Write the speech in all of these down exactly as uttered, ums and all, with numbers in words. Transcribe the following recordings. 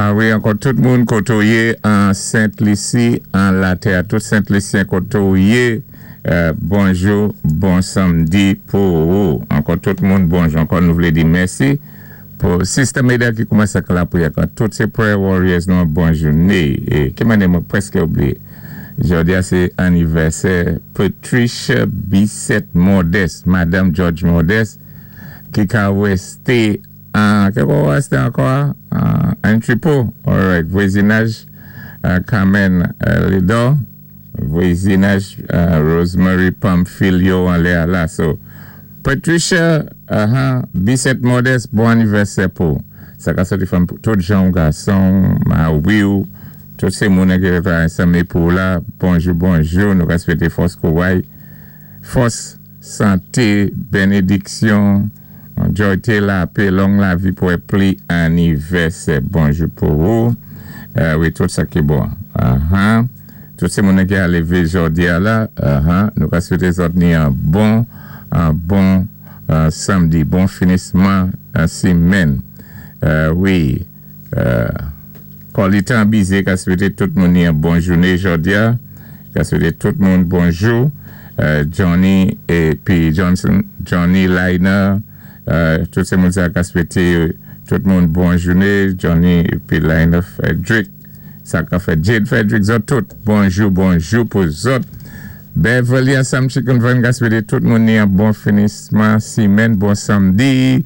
Ah wi, ankò tout moun koté ou yé an Sent Lisi, an latè, tout Sent Lisyen koté ou yé, euh, bonjou, bon sanmdi pou ou. Ankò tout moun bonjou, ankò nou vlé di mèsi pou Sister Meda ki koumansé ak lapriyè, tout sé prayer warriors nou bon jouné. É ki mannyè mwen pwèské oubliyé. Jòdi a sé anivèsè Patricia Bissett Modeste, Madanm George Modeste, ki ka wésté an, ki ka wésté ankò? An Tripo, alright, vwazinaj Carmen Lido, vwazinaj Rosemary Pamphilio anlè a la. So, Patricia uh, Bissett Modeste, bon anivèsè pou. Sa ka soti fanm tout jan gason, ma wiw, tout sé moun ki reta ansanm pou la, bonjou, bonjou, nou ka swété fòs kouway, fòs, santé, bénédiksyon, jòyté, lapè, long lavi pou pli anivèsè. Bonjou pou ou. Euh, wi, tout sa ki bon. Uh-huh. Tout sé moun ki a lévé jòdi a la, uh-huh. Nou ka swété zòt ni an bon, an bon uh, sanmdi, bon finisman uh, simenn. Euh, wi, euh, Kolitan Bizé ka swété tout moun ni an bon jouné jòdi a, ka swété tout moun bonjou. Euh, Johnny épi Johnson, Johnny Liner, euh, tout sé moun sa ka swété tout moun bon jouné, Johnny épi Liner Frederick, sa ka fè Jade Frederick, zòt tout, bonjou, bonjou pou zòt. Beverly Assam Chicken Van ka swété tout moun ni an bon finisman simenn, bon sanmdi,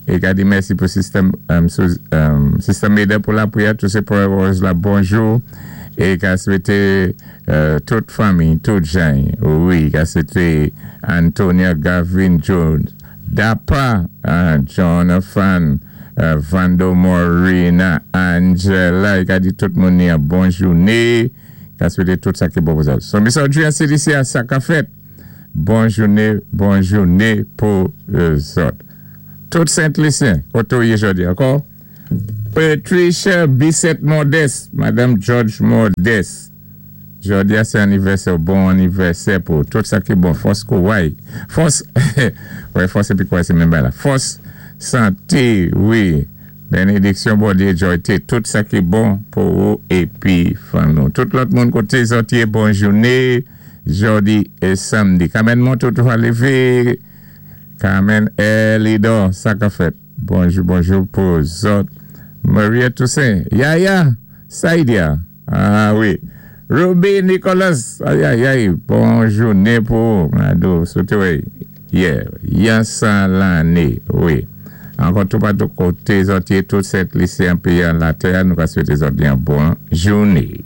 é ka di mèsi pou Sister, um, um, Sister Meda pou lapriyè, tout sé prayer warriors la, bonjou, é ka swété euh, tout fanmi, tout jan, wi, ka swété Antonia Gavin Jones, Dapa, uh, Jonathan, uh, Vando Morina, Angela, i ka di tout moun ni an bon jouné, ka swété tout sa ki bon pou sa. So, Miss Audrey C D C a sa ka fèt, bon jouné, bon jouné pou zòt. Tout Sent Lisyen, koté ou yé jòdi ankò? Patricia Bissett Modeste, Madanm George Modeste. Jòdi a sé anivèsè, bon anivèsè pou tout sa ki bon, fòs kouway. Fòs, wè, fòs épi kouway sé menm bagay la. Fòs, santé, wi, bénédiksyon Bondyé, jòyté, tout sa ki bon pou ou épi fanmi ou. Tout lòt moun koté zòt yé, bon jouné, jòdi é sanmdi. Kamen moun tout va lévé, Carmen Elido, sa ka fèt. Bonjou, bonjou pou zòt. Maria Toussaint, Yaya, Saidia, ah wi. Ruby Nicholas, ay ay ay, bon jouné pou, Mado, soté wè, yeah, yansan lanné, wi. Ankò tout patou koté zòt yé, tout Sent Lisyen péyi an latè, nou ka swété zòt yon bon jouné.